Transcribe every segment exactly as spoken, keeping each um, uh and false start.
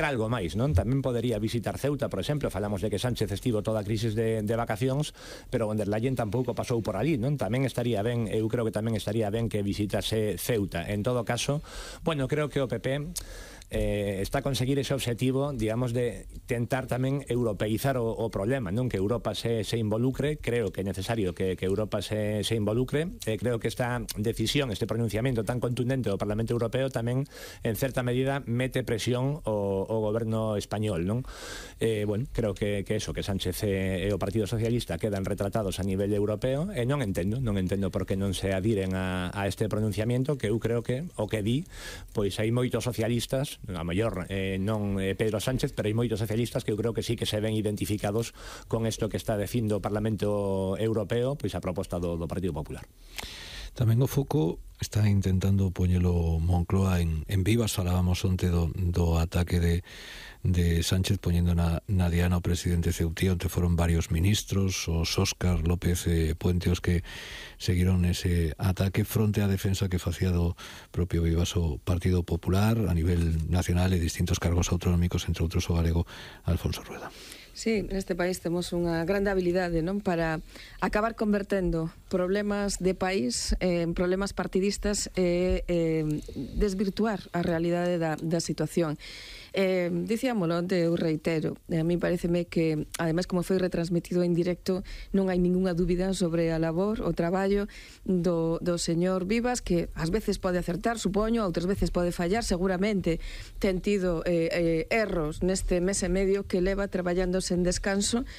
algo máis, non? Tamén podería visitar Ceuta, por exemplo. Falamos de que Sánchez estivo toda a crisis de, de vacacións, pero von der Leyen tampouco pasou por ali, non? Tamén estaría ben, eu creo que tamén estaría ben que visitase Ceuta. En todo caso, bueno, creo que o P P eh, está a conseguir ese objetivo, digamos, de tentar tamén europeizar o, o problema, non? Que Europa se, se involucre. Creo que é necesario que, que Europa se, se involucre. Eh, creo que esta decisión, este pronunciamento tan contundente do Parlamento Europeo tamén, en certa medida, mete presión o, o goberno español, non? Eh, bueno, creo que, que eso, que Sánchez e, e o Partido Socialista quedan retratados a nivel europeo, e non entendo, non entendo por que non se adiren a, a este pronunciamento, que eu creo que o que di, pois hai moitos socialistas, a maior eh, non eh, Pedro Sánchez, pero hai moitos socialistas que eu creo que sí que se ven identificados con isto que está dicindo o Parlamento Europeo, pois a proposta do, do Partido Popular. Tamén o foco está intentando poñelo Moncloa en, en Vivas. Falábamos onte do, do ataque de, de Sánchez poñendo na, na diana o presidente ceutí, onde foron varios ministros, os Óscar López eh, Puente, os que seguiron ese ataque fronte á defensa que facía do propio Vivas o Partido Popular a nivel nacional e distintos cargos autonómicos, entre outros o galego Alfonso Rueda. Sí, neste país temos unha grande habilidade, non, para acabar convertendo problemas de país en problemas partidistas e eh, desvirtuar a realidade da, da situación. Eh, dicíamolo onte, eu reitero, a mí pareceme que, ademais, como foi retransmitido en directo, non hai ningunha dúbida sobre a labor, o traballo do, do señor Vivas, que ás veces pode acertar, supoño, outras veces pode fallar, seguramente ten tido eh, eh, erros neste mes e medio que leva traballando sen descanso.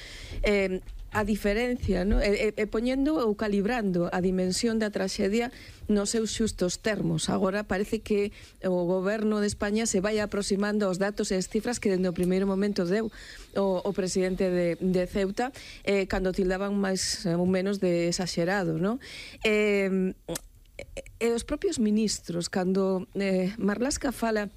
eh, a diferencia, ¿no? E, e, e poñendo ou calibrando a dimensión da traxedia nos seus xustos termos. Agora parece que o goberno de España se vai aproximando aos datos e as cifras que dende o primeiro momento deu o, o presidente de, de Ceuta, eh, cando tildaban máis ou menos de exagerado, ¿no? Eh, e os propios ministros, cando eh, Marlaska fala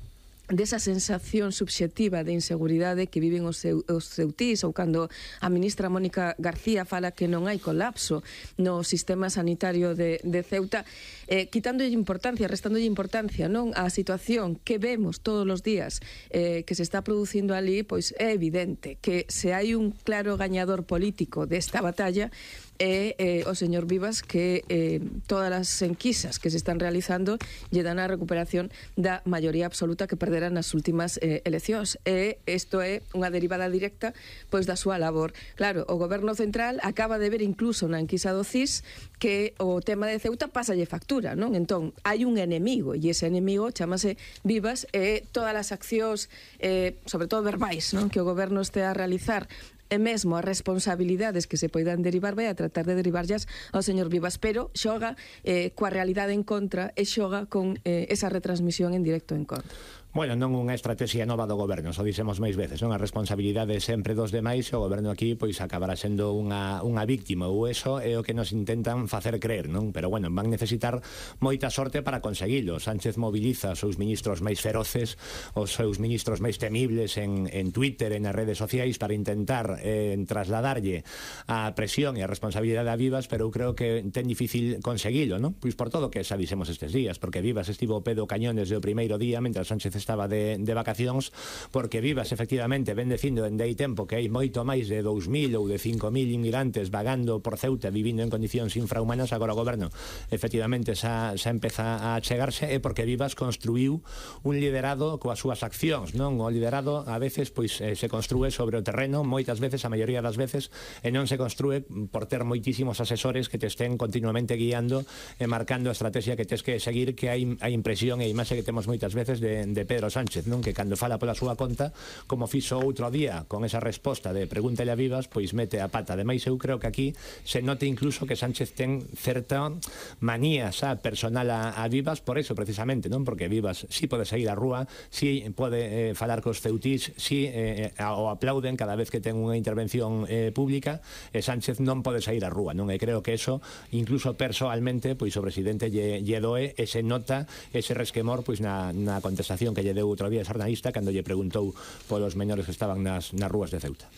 desa sensación subxectiva de inseguridade que viven os, seu, os ceutís, ou cando a ministra Mónica García fala que non hai colapso no sistema sanitario de, de Ceuta, eh, quitándolle importancia, restándolle importancia, non, a situación que vemos todos os días eh, que se está producindo ali, pois é evidente que se hai un claro gañador político desta batalla e eh, o señor Vivas, que eh, todas as enquisas que se están realizando lle dan a recuperación da maioría absoluta que perderá nas últimas eh, eleccións, e isto é unha derivada directa pois da súa labor. Claro, o goberno central acaba de ver incluso na enquisa do C I S que o tema de Ceuta pásalle factura, non? Entón, hai un enemigo, e ese enemigo chamase Vivas, e todas as accións eh, sobre todo verbais, non, que o goberno este a realizar, e mesmo as responsabilidades que se poidan derivar, vai a tratar de derivarllas ao señor Vivas, pero xoga eh, coa realidade en contra e xoga con eh, esa retransmisión en directo en contra. Bueno, non unha estrategia nova do goberno, só dixemos máis veces, non? A responsabilidade sempre dos demais, e o goberno aquí pois acabará sendo unha, unha víctima, ou eso é o que nos intentan facer creer, non? Pero bueno, van necesitar moita sorte para conseguilo. Sánchez moviliza os seus ministros máis feroces, os seus ministros máis temibles en, en Twitter, en as redes sociais, para intentar eh, trasladarlle a presión e a responsabilidade a Vivas, pero eu creo que ten difícil conseguilo, non? Pois por todo o que xa dixemos estes días, porque Vivas estivo ao pé do cañón desde o primeiro día, mentre Sánchez estaba de, de vacacións, porque Vivas efectivamente ven dicindo en dei tempo que hai moito máis de dous mil ou de cinco mil inmigrantes vagando por Ceuta, vivindo en condicións infrahumanas. Agora o goberno efectivamente xa, xa empeza a chegarse, e porque Vivas construiu un liderado coas súas accións, non? O liderado a veces pois eh, se construe sobre o terreno, moitas veces, a maioría das veces, e non se construe por ter moitísimos asesores que te estén continuamente guiando e marcando a estrategia que tes que seguir, que hai a impresión e a imaxe que temos moitas veces de, de Pedro Sánchez, non? Que cando fala pola súa conta, como fixo outro día con esa resposta de pregúntale a Vivas, pois mete a pata. Ademais, eu creo que aquí se note incluso que Sánchez ten certa manía xa personal a, a Vivas, por eso precisamente, non? Porque Vivas si pode sair á rúa, si pode eh, falar cos ceutís, si eh, o aplauden cada vez que ten unha intervención eh, pública, e Sánchez non pode sair á rúa, non? E creo que eso, incluso personalmente, pois o presidente lle, lle doe, e se nota ese resquemor pois na, na contestación que lle deu outro día a xornalista cando lle preguntou polos menores que estaban nas, nas rúas de Ceuta.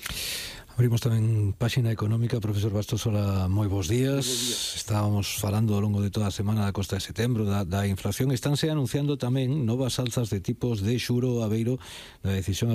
Abrimos tamén páxina económica. Profesor Bastosola, moi bons días. días. Estábamos falando ao longo de toda a semana da costa de setembro, da, da inflación. Estánse anunciando tamén novas alzas de tipos de xuro, Aveiro, da decisión